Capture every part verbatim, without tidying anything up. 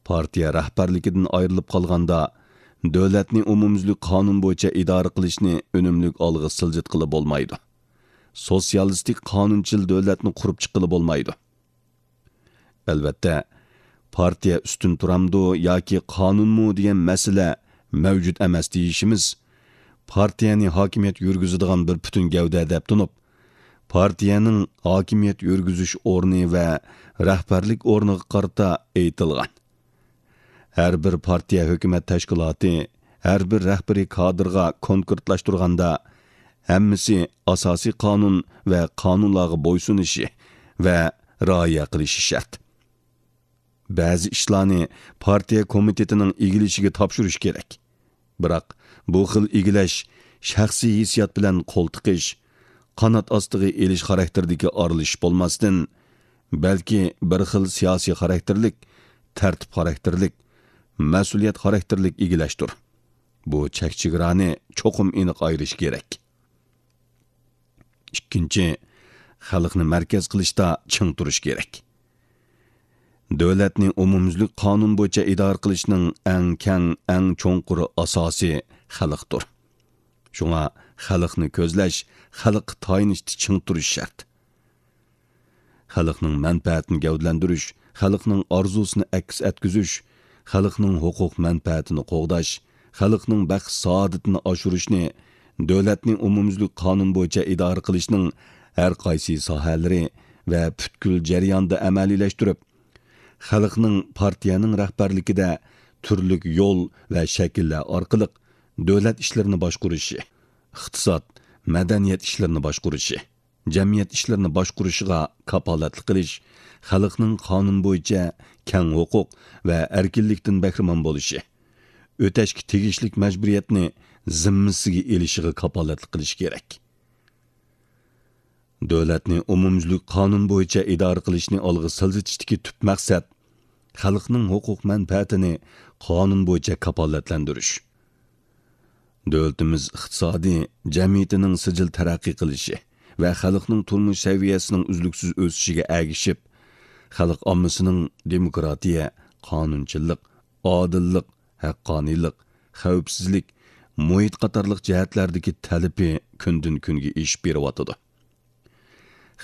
پارتىيە رەھبەرلىكىدىن ئايرىلىپ قالغاندا، دۆلەتنى ئومۇميۈزلۈك قانۇن بويىچە ئىدارە قىلىشنى ئۈنۈملۈك ئالغا سىلجىتقىلى بولمايدۇ. سوتسىيالىستىك قانۇنچىل دۆلەتنى قۇرۇپ چىققىلى بولمايدۇ. ئەلۋەتتە، پارتىيە ئۈستۈن تۇرامدۇ ياكى قانۇنمۇ دېگەن مەسىلە مەۋجۇت ئەمەس دېيىشىمىز، پارتىيەنى ھاكىمىيەت يۈرگۈزىدىغان بىر پۈتۈن گەۋدە دەپ تونۇپ، پارتىيەنىڭ ھاكىمىيەت يۈرگۈزۈش ئورنى ۋە رەھبەرلىك ئورنىغا قارىتا ئېيتىلغان. ھەر بىر پارتىيە ھۆكۈمەت تەشكىلاتى، ھەر بىر رەھبىرىي كادىرغا كونكرېتلاشتۇرغاندا، ھەممىسى ئاساسىي قانۇن ۋە قانۇنلارغا بويسۇنۇشى ۋە رىئايە قىلىشى شەرت. بەزى ئىشلارنى پارتىيە كومىتېتىنىڭ ئىگىلىشىگە تاپشۇرۇش كېرەك. بىراق، بۇ خىل ئىگىلەش شەخسىي ھېسسىيات بىلەن قول تىقىش، قانات ئاستىغا ئېلىش خاراكتېرىدىكى ئارىلىشىش بولماستىن، بەلكى بىر خىل سىياسىي خاراكتېرلىك، تەرتىپ خاراكتېرلىك، مەسئۇلىيەت خاراكتېرلىك ئىگىلەشتۇر. بۇ چەك-چېگرانى چوقۇم ئېنىق ئايرىش كېرەك. ئىككىنچى، خەلقنى مەركەز قىلىشتا چىڭ تۇرۇش كېرەك. دۆلەتنى ئومۇميۈزلۈك قانۇن بويىچە ئىدارە قىلىشنىڭ ئەڭ كەڭ، ئەڭ چوڭقۇر ئاساسى خەلقتۇر. شۇڭا خەلقنى كۆزلەش، خەلققە تايىنىشتا چىڭ تۇرۇش شەرت. خەلقنىڭ مەنپەئەتىنى گەۋدىلەندۈرۈش، خەلقنىڭ ئارزۇسىنى ئەكس ئەتكۈزۈش، خەلقنىڭ ھوقۇق مەنپەئەتىنى قوغداش، خەلقنىڭ بەخت-سائادىتىنى ئاشۇرۇشنى دۆلەتنى ئومۇميۈزلۈك قانۇن بويىچە ئىدارە قىلىشنىڭ ھەر قايسى ساھەلىرى ۋە پۈتكۈل جەرياندا ئەمەلىيلەشتۈرۈپ، خەلقنىڭ پارتىيەنىڭ رەھبەرلىكىدە تۈرلۈك يول ۋە شەكىللەر ئارقىلىق دۆلەت ئىشلىرىنى باشقۇرۇشى، ئىقتىساد، مەدەنىيەت ئىشلىرىنى باشقۇرۇشى، جەمئىيەت ئىشلىرىنى باشقۇرۇشىغا كاپالەتلىك قىلىش، خەلقنىڭ قانۇن بويىچە كەڭ ھوقۇق ۋە ئەركىنلىكتىن بەھرىمەن بولۇشى، ئۆتەشكە تېگىشلىك مەجبۇرىيەتنى زىممىسىگە ئېلىشىغا كاپالەتلىك قىلىش كېرەك. دۆلەتنى ئومۇميۈزلۈك قانۇن بويىچە ئىدارە قىلىشنى ئالغا سىلجىتىشتىكى تۈپ مەقسەت، خەلقنىڭ ھوقۇق مەنپەئەتىنى قانۇن بويىچە كاپالەتلەندۈرۈش. دۆلىتىمىز ئىقتىسادىي جەمئىيىتىنىڭ سىجىل تەرەققىي قىلىشى ۋە خەلقنىڭ تۇرمۇش سەۋىيەسىنىڭ ئۈزلۈكسىز ئۆسۈشىگە ئەگىشىپ، خەلق ئاممىسىنىڭ دېموكراتىيە، قانۇنچىللىق، ئادىللىق، ھەققانىيلىق، خەۋپسىزلىك، مۇھىت قاتارلىق جەھەتلەردىكى تەلىپى كۈندىن-كۈنگە ئېشىپ بېرىۋاتىدۇ.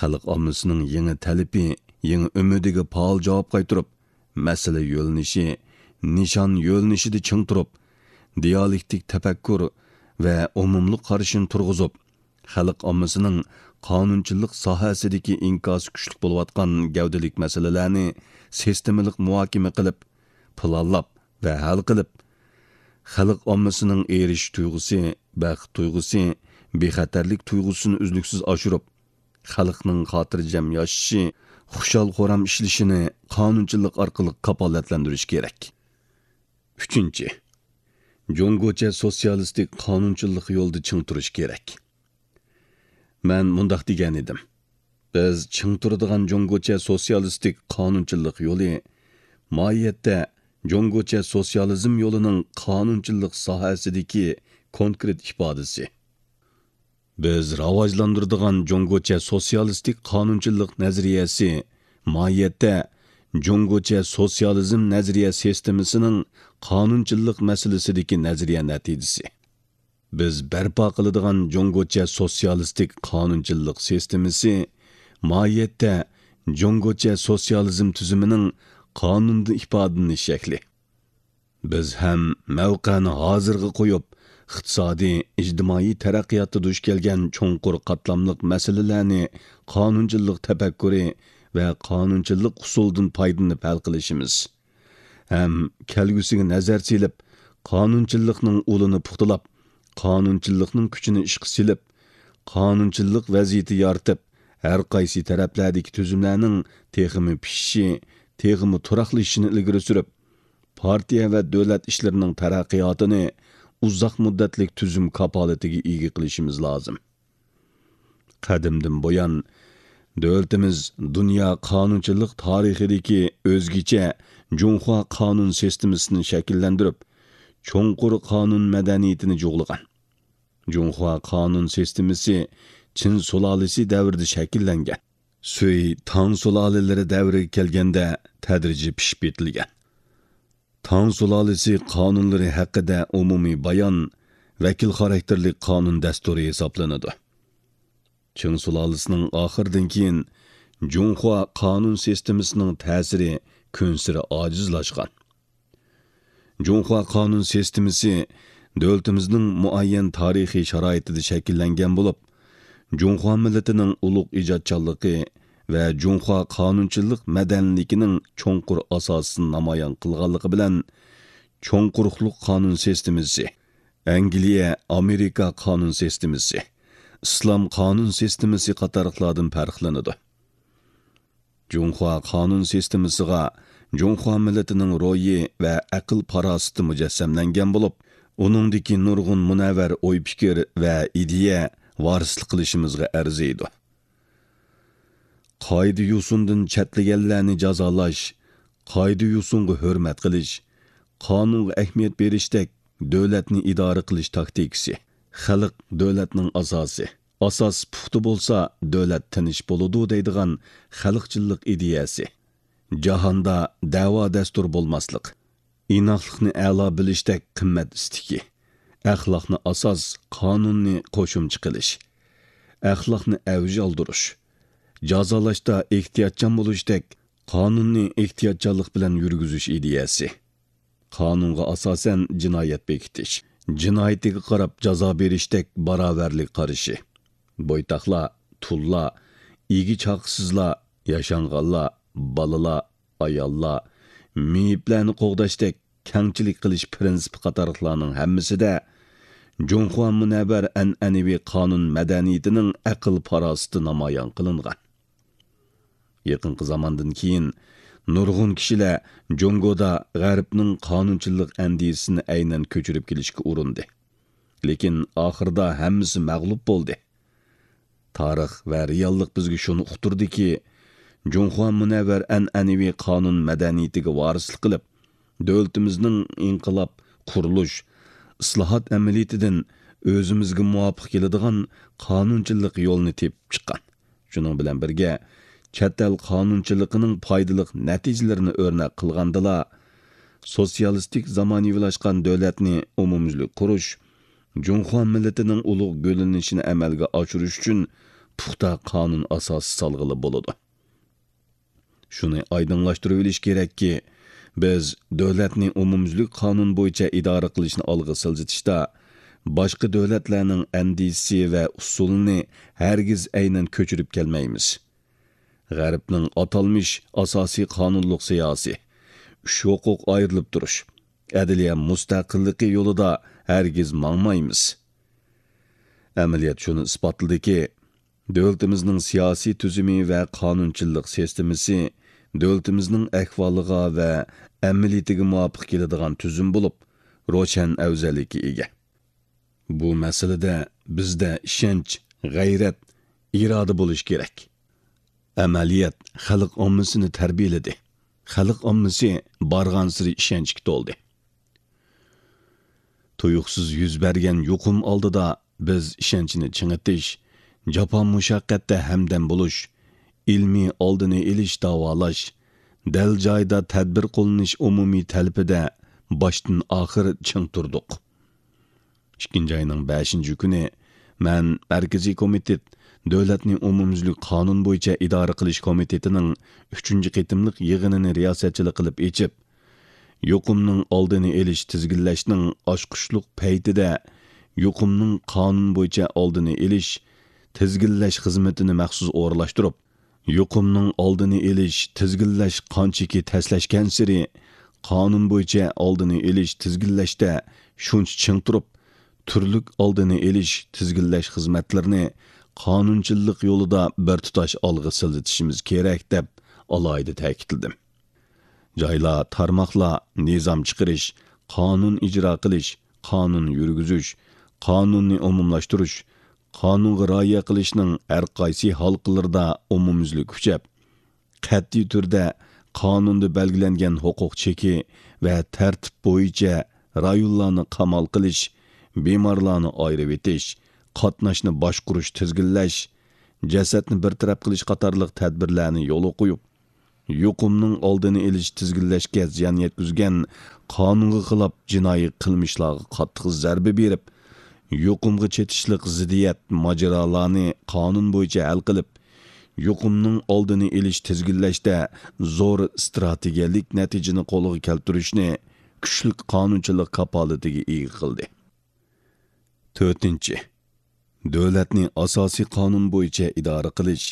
خەلق ئاممىسىنىڭ يېڭى تەلىپى، يېڭى ئۈمىدىگە پائال جاۋاب قايتۇرۇپ، مەسىلە يۆنىلىشى، نىشان يۆنىلىشىدە چىڭ تۇرۇپ، دىيالېكتىك تەپەككۇر ۋە ئومۇملۇق قارىشىنى تۇرغۇزۇپ، خەلق ئاممىسىنىڭ قانۇنچىلىق ساھەسىدىكى ئىنكاسى كۈچلۈك بولۇۋاتقان گەۋدىلىك مەسىلىلەرنى سىستېمىلىق مۇھاكىمە قىلىپ، پىلانلاپ ۋە ھەل قىلىپ، خەلق ئاممىسىنىڭ ئېرىشىش تۇيغۇسى، بەخت تۇيغۇسى، بىخەتەرلىك تۇيغۇسىنى ئۈزلۈكسىز ئاشۇرۇپ، خەلقنىڭ خاتىرجەم ياشىشى، خۇشال-خۇرام ئىشلىشىنى قانۇنچىلىق ئارقىلىق كاپالەتلەندۈرۈش كېرەك. ئۈچىنچى، جۇڭگوچە سوتسىيالىستىك قانۇنچىللىق يولىدا چىڭ تۇرۇش كېرەك. مەن مۇنداق دېگەن ئىدىم، بىز چىڭ تۇرىدىغان جۇڭگوچە سوتسىيالىستىك قانۇنچىللىق يولى ماھىيەتتە جۇڭگوچە سوتسىيالىزم يولىنىڭ قانۇنچىللىق ساھەسىدىكى كونكرېت ئىپادىسى. بىز راۋاجلاندۇرىدىغان جۇڭگوچە سوتسىيالىستىك قانۇنچىللىق نەزەرىيەسى ماھىيەتتە جۇڭگوچە سوتسىيالىزم نەزەرىيە سىستېمىسىنىڭ قانۇنچىللىق مەسىلىسىدىكى نەزەرىيە نەتىجىسى. بىز بەرپا قىلىدىغان جۇڭگوچە سوتسىيالىستىك قانۇنچىللىق سىستېمىسى ماھىيەتتە جۇڭگوچە سوتسىيالىزم تۈزۈمىنىڭ قانۇندا ئىپادىلىنىش شەكلى. بىز ھەم مەۋقەنى ھازىرغا قويۇپ، ئىقتىسادىي، ئىجتىمائىي تەرەققىياتتا دۇچ كەلگەن چوڭقۇر قاتلاملىق مەسىلىلەرنى قانۇنچىللىق تەپەككۇرى ۋە قانۇنچىللىق ئۇسۇلىدىن پايدىلىنىپ ھەل قىلىشىمىز. ھەم كەلگۈسىگە نەزەر سېلىپ، قانۇنچىللىقنىڭ ئۇلىنى پۇختىلاپ، قانۇنچىللىقنىڭ كۈچىنى ئىشقا سېلىپ، قانۇنچىللىق ۋەزىيىتى يارىتىپ، ھەر قايسى تەرەپلەردىكى تۈزۈملەرنىڭ تېخىمۇ پىشىشى، تېخىمۇ تۇراقلىشىشىنى ئىلگىرى سۈرۈپ، پارتىيە ۋە دۆلەت ئىشلىرىنىڭ تەرەققىياتىنى ئۇزاق مۇددەتلىك تۈزۈم كاپالىتىگە ئىگە قىلىشىمىز لازىم. قەدىمدىن بۇيان، دۆلىتىمىز دۇنيا قانۇنچىلىق تارىخىدىكى ئۆزگىچە جۇڭخۇا قانۇن سىستېمىسىنى شەكىللەندۈرۈپ، چوڭقۇر قانۇن مەدەنىيىتىنى جۇغلىغان. جۇڭخۇا قانۇن سىستېمىسى چىن سۇلالىسى دەۋرىدە شەكىللەنگەن. سۈي تاڭ سۇلالىلىرى دەۋرىگە كەلگەندە تەدرىجىي پىشىپ يېتىلگەن. تاڭ سۇلالىسى قانۇنلىرى ھەققىدە ئومۇمىي بايان ۋەكىل خاراكتېرلىك قانۇن دەستۇرى ھېسابلىنىدۇ. چىڭ سۇلالىسىنىڭ ئاخىرىدىن كېيىن جۇڭخۇا قانۇن سىستېمىسىنىڭ تەسىرى كۈنسېرى ئاجىزلاشقان. جۇڭخۇا قانۇن سىستېمىسى دۆلىتىمىزنىڭ مۇئەييەن تارىخىي شارائىتىدا شەكىللەنگەن بولۇپ، جۇڭخۇا مىللىتىنىڭ ئۇلۇغ ئىجادچانلىقى ۋە جۇڭخۇا قانۇنچىلىق مەدەنىيلىكىنىڭ چوڭقۇر ئاساسىنى نامايان قىلغانلىقى بىلەن، چوڭ قۇرۇقلۇق قانۇن سىستېمىسى، ئەنگلىيە، ئامېرىكا قانۇن سىستېمىسى، ئىسلام قانۇن سىستېمىسى قاتارلىقلاردىن پەرقلىنىدۇ. جۇڭخۇا قانۇن سىستېمىسىغا جۇڭخۇا مىللىتىنىڭ روھى ۋە ئەقىل-پاراسىتى مۇجەسسەملەنگەن بولۇپ، ئۇنىڭدىكى نۇرغۇن مۇنەۋۋەر ئوي-پىكىر ۋە ئىدىيە ۋارىسلىق قىلىشىمىزغا ئەرزىيدۇ. قائىدە-يوسۇندىن چەتلىگەنلەرنى جازالاش، قائىدە-يوسۇنغا ھۆرمەت قىلىش، قانۇنغا ئەھمىيەت بېرىشتەك دۆلەتنى ئىدارە قىلىش تاكتىكىسى. خەلق دۆلەتنىڭ ئاساسى. ئاساس پۇختا بولسا، دۆلەت تىنچ بولىدۇ دەيدىغان خەلقچىللىق ئىدىيەسى. جاھاندا دەۋا دەستۇر بولماسلىق، ئىناقلىقنى ئەلا بىلىشتەك قىممەت ئىستىكى، ئەخلاقنى ئاساس، قانۇننى قوشۇمچە قىلىش، ئەخلاقنى ئەۋج ئالدۇرۇش، جازالاشتا ئېھتىياتچان بولۇشتەك قانۇننى ئېھتىياتچانلىق بىلەن يۈرگۈزۈش ئىدىيەسى. قانۇنغا ئاساسەن جىنايەت بېكىتىش، جىنايىتىگە قاراپ جازا بېرىشتەك باراۋەرلىك قارىشى. بويتاقلار، تۇللار، ئىگە چاقىسىزلار، ياشانغانلار، بالىلار، ئاياللار، مېيىپلەرنى قوغداشتەك كەڭچىلىك قىلىش پىرىنسىپى قاتارلىقلارنىڭ ھەممىسىدە جۇڭخۇا مۇنەۋۋەر ئەنئەنىۋى قانۇن مەدەنىيىتىنىڭ ئەقىل-پاراسىتى نامايان قىلىنغان. يېقىنقى زاماندىن كېيىن نۇرغۇن كىشىلەر جۇڭگودا غەربنىڭ قانۇنچىللىق ئەندىزىسىنى ئەينەن كۆچۈرۈپ كېلىشكە ئۇرۇندى. لېكىن ئاخىرىدا ھەممىسى مەغلۇپ بولدى. تارىخ ۋە رېئاللىق بىزگە شۇنى ئۇقتۇردىكى، جۇڭخۇا مۇنەۋۋەر ئەنئەنىۋى قانۇن مەدەنىيىتىگە ۋارىسلىق قىلىپ، دۆلىتىمىزنىڭ ئىنقىلاب، قۇرۇلۇش، ئىسلاھات ئەمەلىيىتىدىن ئۆزىمىزگە مۇۋاپىق كېلىدىغان قانۇنچىلىق يولىنى تېپىپ چىققان. شۇنىڭ بىلەن بىرگە، چەت ئەل قانۇنچىلىقىنىڭ پايدىلىق نەتىجىلىرىنى ئۆرنەك قىلغاندىلا، سوتسىيالىستىك زامانىۋىلاشقان دۆلەتنى ئومۇميۈزلۈك قۇرۇش، جۇڭخۇا مىللىتىنىڭ ئۇلۇغ گۈللىنىشىنى ئەمەلگە ئاشۇرۇش ئۈچۈن پۇختا قانۇن ئاساسى سالغىلى بولىدۇ. شۇنى ئايدىڭلاشتۇرۇۋېلىش كېرەككى، بىز دۆلەتنى ئومۇميۈزلۈك قانۇن بويىچە ئىدارە قىلىشنى ئالغا سىلجىتىشتا، باشقا دۆلەتلەرنىڭ ئەندىزىسى ۋە ئۇسۇلىنى ھەرگىز ئەينەن كۆچۈرۈپ كەلمەيمىز. غەربنىڭ ئاتالمىش ئاساسىي قانۇنلۇق سىياسىي، ئۈچ ھوقۇق ئايرىلىپ تۇرۇش، ئەدلىيە مۇستەقىللىقى يولىدا ھەرگىز ماڭمايمىز. ئەمەلىيەت شۇنى ئىسپاتلىدىكى، دۆلىتىمىزنىڭ سىياسىي تۈزۈمى ۋە قانۇنچىلىق سىستېمىسى دۆلىتىمىزنىڭ ئەھۋالىغا ۋە ئەمەلىيىتىگە مۇۋاپىق كېلىدىغان تۈزۈم بولۇپ، روشەن ئەۋزەللىككە ئىگە. بۇ مەسىلىدە بىزدە ئىشەنچ، غەيرەت، ئىرادە بولۇشى كېرەك. ئەمەلىيەت خەلق ئاممىسىنى تەربىيەلىدى. خەلق ئاممىسى بارغانسېرى ئىشەنچكە تولدى. تۇيۇقسىز يۈز بەرگەن يۇقۇم ئالدىدا بىز ئىشەنچنى چىڭىتىش، جاپا-مۇشەققەتتە ھەمدەم بولۇش، ئىلمىي ئالدىنى ئېلىش، داۋالاش، دەل جايىدا تەدبىر قوللىنىش ئومۇمىي تەلىپىدە باشتىن ئاخىر چىڭ تۇردۇق. ئىككىنچى ئاينىڭ بەشىنچى كۈنى مەن مەركىزىي كومىتېت، دۆلەتنى ئومۇميۈزلۈك قانۇن بويىچە ئىدارە قىلىش كومىتېتىنىڭ ئۈچىنچى قېتىملىق يىغىنىنى رىياسەتچىلىك قىلىپ ئېچىپ، يۇقۇمنىڭ ئالدىنى ئېلىش، تىزگىنلەشنىڭ ئاچقۇچلۇق پەيتىدە يۇقۇمنىڭ قانۇن بويىچە ئالدىنى ئېلىش، تىزگىنلەش خىزمىتىنى مەخسۇس ئورۇنلاشتۇرۇپ، يۇقۇمنىڭ ئالدىنى ئېلىش، تىزگىنلەش قانچىكى تەسلەشكەنسېرى، قانۇن بويىچە ئالدىنى ئېلىش، تىزگىنلەشتە شۇنچە چىڭ تۇرۇپ، تۈرلۈك ئالدىنى ئېلىش، تىزگىنلەش خىزمەتلىرىنى قانۇنچىللىق يولىدا بىر تۇتاش ئالغا سىلجىتىشىمىز كېرەك، دەپ ئالاھىدە تەكىتلىدىم. جايلار، تارماقلار نىزام چىقىرىش، قانۇن ئىجرا قىلىش، قانۇن يۈرگۈزۈش، قانۇننى ئومۇملاشتۇرۇش، قانۇنغا رىئايە قىلىشنىڭ ھەر قايسى ھالقىلىرىدا ئومۇميۈزلۈك كۈچەپ، قەتئىي تۈردە قانۇندا بەلگىلەنگەن ھوقۇق چېكى ۋە تەرتىپ بويىچە رايونلارنى قامال قىلىش، بىمارلارنى ئايرىۋېتىش، قاتناشنى باشقۇرۇش، تىزگىنلەش، جەسەتنى بىر تەرەپ قىلىش قاتارلىق تەدبىرلەرنى يولغا قويۇپ، يۇقۇمنىڭ ئالدىنى ئېلىش، تىزگىنلەشكە زىيان يەتكۈزگەن قانۇنغا خىلاپ جىنايى قىلمىشلارغا قاتتىق زەربە بېرىپ، يۇقۇمغا چېتىشلىق زىددىيەت ماجىرالارنى قانۇن بويىچە ھەل قىلىپ، يۇقۇمنىڭ ئالدىنى ئېلىش، تىزگىنلەشتە زور ئىستراتېگىيەلىك نەتىجىنى قولغا كەلتۈرۈشنى كۈچلۈك قانۇنچىلىق كاپالىتىگە ئىگە قىلدى. تۆتىنچى، دۆلەتنى ئاساسىي قانۇن بويىچە ئىدارە قىلىش،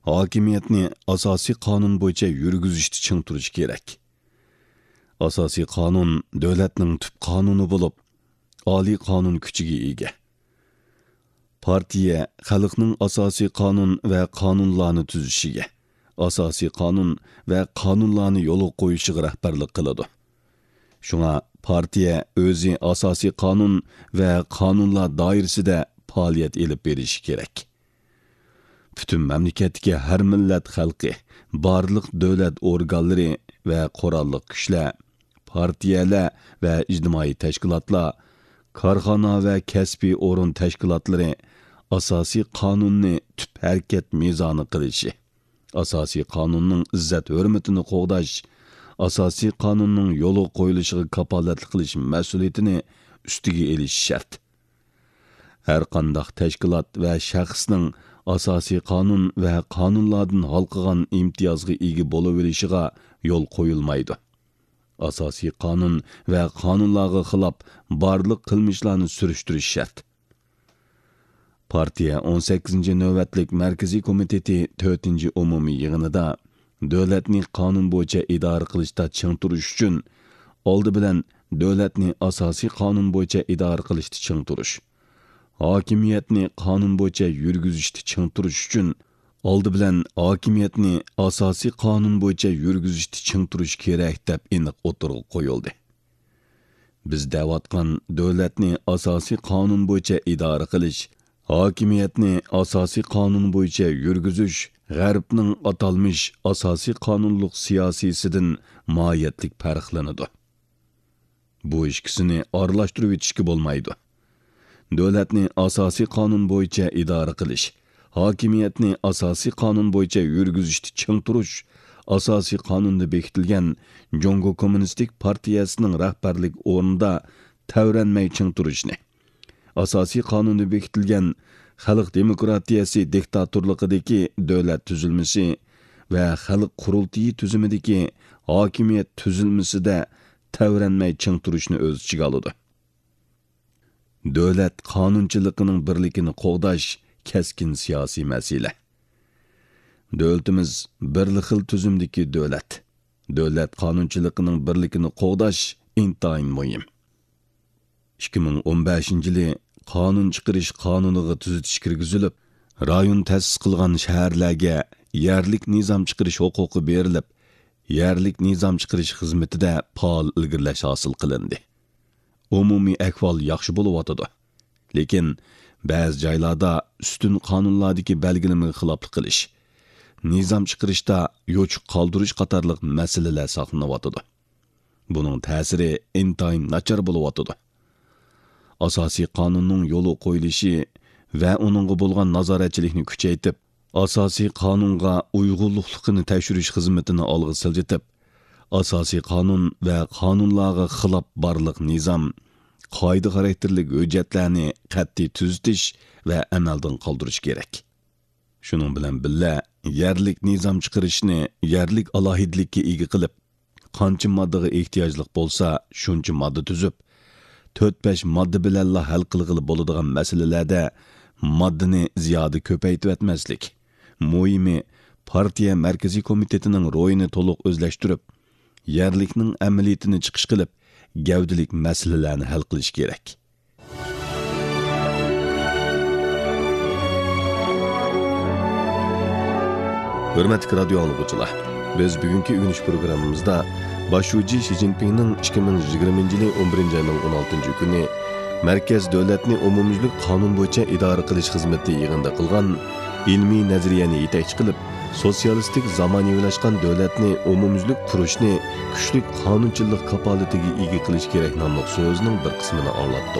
ھاكىمىيەتنى ئاساسىي قانۇن بويىچە يۈرگۈزۈشتە چىڭ تۇرۇش كېرەك. ئاساسىي قانۇن دۆلەتنىڭ تۈپ قانۇنى بولۇپ، ئالىي قانۇن كۈچىگە ئىگە. پارتىيە خەلقنىڭ ئاساسىي قانۇن ۋە قانۇنلارنى تۈزۈشىگە، ئاساسىي قانۇن ۋە قانۇنلارنى يولغا قويۇشىغا رەھبەرلىك قىلىدۇ. شۇڭا پارتىيە ئۆزى ئاساسىي قانۇن ۋە قانۇنلار دائىرىسىدە پائالىيەت ئېلىپ بېرىشى كېرەك. پۈتۈن مەملىكەتتىكى ھەر مىللەت خەلقى، بارلىق دۆلەت ئورگانلىرى ۋە قوراللىق كۈچلەر، پارتىيەلەر ۋە ئىجتىمائىي تەشكىلاتلار، كارخانا ۋە كەسپىي ئورۇن تەشكىلاتلىرى ئاساسىي قانۇننى تۈپ ھەرىكەت مىزانى قىلىشى، ئاساسىي قانۇننىڭ ئىززەت-ھۆرمىتىنى قوغداش، ئاساسىي قانۇننىڭ يولغا قويۇلۇشىغا كاپالەتلىك قىلىش مەسئۇلىيىتىنى ئۈستىگە ئېلىشى شەرت. ھەر قانداق تەشكىلات ۋە شەخسنىڭ ئاساسىي قانۇن ۋە قانۇنلاردىن ھالقىغان ئىمتىيازغا ئىگە بولۇۋېلىشىغا يول قويۇلمايدۇ. ئاساسىي قانۇن ۋە قانۇنلارغا خىلاپ بارلىق قىلمىشلارنى سۈرۈشتۈرۈش شەرت. پارتىيە ئون سەككىزىنچى نۆۋەتلىك مەركىزىي كومىتېتى تۆتىنچى ئومۇمىي يىغىنىدا دۆلەتنى قانۇن بويىچە ئىدارە قىلىشتا چىڭ تۇرۇش ئۈچۈن، ئالدى بىلەن دۆلەتنى ئاساسىي قانۇن بويىچە ئىدارە قىلىشتا چىڭ تۇرۇش، ھاكىمىيەتنى قانۇن بويىچە يۈرگۈزۈشتە چىڭ تۇرۇش ئۈچۈن، ئالدى بىلەن ھاكىمىيەتنى ئاساسىي قانۇن بويىچە يۈرگۈزۈشتە چىڭ تۇرۇش كېرەك، دەپ ئېنىق ئوتتۇرىغا قويۇلدى. بىز دەۋاتقان دۆلەتنى ئاساسىي قانۇن بويىچە ئىدارە قىلىش، ھاكىمىيەتنى ئاساسىي قانۇن بويىچە يۈرگۈزۈش غەربنىڭ ئاتالمىش ئاساسىي قانۇنلۇق سىياسىيسىدىن ماھىيەتلىك پەرقلىنىدۇ. بۇ ئىككىسىنى ئارىلاشتۇرۇۋېتىشكە بولمايدۇ. دۆلەتنى ئاساسىي قانۇن بويىچە ئىدارە قىلىش، ھاكىمىيەتنى ئاساسىي قانۇن بويىچە يۈرگۈزۈشتە چىڭ تۇرۇش ئاساسىي قانۇندا بېكىتىلگەن جۇڭگو كوممۇنىستىك پارتىيەسىنىڭ رەھبەرلىك ئورنىدا تەۋرەنمەي چىڭ تۇرۇشنى، ئاساسىي قانۇندا بېكىتىلگەن خەلق دېموكراتىيەسى دىكتاتورلۇقىدىكى دۆلەت تۈزۈلمىسى ۋە خەلق قۇرۇلتىيى تۈزۈمىدىكى ھاكىمىيەت تۈزۈلمىسىدە تەۋرەنمەي چىڭ تۇرۇشنى ئۆز ئىچىگە ئالىدۇ. دۆلەت قانۇنچىلىقىنىڭ بىرلىكىنى قوغداش كەسكىن سىياسىي مەسىلە. دۆلىتىمىز بىرلا خىل تۈزۈمدىكى دۆلەت. دۆلەت قانۇنچىلىقىنىڭ بىرلىكىنى قوغداش ئىنتايىن مۇھىم. ئىككى مىڭ ئون بەشىنچى يىلى قانۇن چىقىرىش قانۇنىغا تۈزىتىش كىرگۈزۈلۈپ، رايون تەسىس قىلغان شەھەرلەرگە يەرلىك نىزام چىقىرىش ھوقۇقى بېرىلىپ، يەرلىك نىزام چىقىرىش خىزمىتىدە پائال ئىلگىرىلەش ھاسىل قىلىندى. ئومۇمىي ئەھۋال ياخشى بولۇۋاتىدۇ. لېكىن بەزى جايلاردا ئۈستۈن قانۇنلاردىكى بەلگىلىمىگە خىلاپلىق قىلىش، نىزام چىقىرىشتا يوچۇق قالدۇرۇش قاتارلىق مەسىلىلەر ساقلىنىۋاتىدۇ. بۇنىڭ تەسىرى ئىنتايىن ناچار بولۇۋاتىدۇ. ئاساسىي قانۇننىڭ يولغا قويۇلۇشى ۋە ئۇنىڭغا بولغان نازارەتچىلىكنى كۈچەيتىپ، ئاساسىي قانۇنغا ئۇيغۇنلۇقلۇقىنى تەكشۈرۈش خىزمىتىنى ئالغا سىلجىتىپ، ئاساسىي قانۇن ۋە قانۇنلارغا خىلاپ بارلىق نىزام، قائىدە خاراكتېرلىك ھۆججەتلەرنى قەتئىي تۈزىتىش ۋە ئەمەلدىن قالدۇرۇش كېرەك. شۇنىڭ بىلەن بىللە، يەرلىك نىزام چىقىرىشنى يەرلىك ئالاھىدىلىككە ئىگە قىلىپ، قانچە ماددىغا ئېھتىياجلىق بولسا، شۇنچە ماددا تۈزۈپ، تۆت-بەش ماددا بىلەنلا ھەل قىلغىلى بولىدىغان مەسىلىلەردە ماددىنى زىيادە كۆپەيتىۋەتمەسلىك. مۇھىمى، پارتىيە مەركىزىي كومىتېتىنىڭ روھىنى تولۇق ئۆزلەشتۈرۈپ، يەرلىكنىڭ ئەمەلىيىتىنى چىقىش قىلىپ، گەۋدىلىك مەسىلىلەرنى ھەل قىلىش كېرەك. ھۆرمەتلىك رادىيو ئاڭلىغۇچىلار، بىز بۈگۈنكى ئۆگىنىش پروگراممىمىزدا باش شۇجى شى جىنپىڭنىڭ ئىككى مىڭ يىگىرمىنچى يىلى ئون بىرىنچى ئاينىڭ ئون ئالتىنچى كۈنى مەركەز دۆلەتنى ئومۇميۈزلۈك قانۇن بويىچە ئىدارە قىلىش خىزمىتى يىغىنىدا قىلغان ئىلمىي نەزەرىيەنى يېتەكچى قىلىپ، سوتسىيالىستىك زامانىۋىلاشقان دۆلەتنى ئومۇميۈزلۈك قۇرۇشنى كۈچلۈك قانۇنچىلىق كاپالىتىگە ئىگە قىلىش كېرەك ناملىق سۆزىنىڭ بىر قىسمىنى ئاڭلاتتۇق.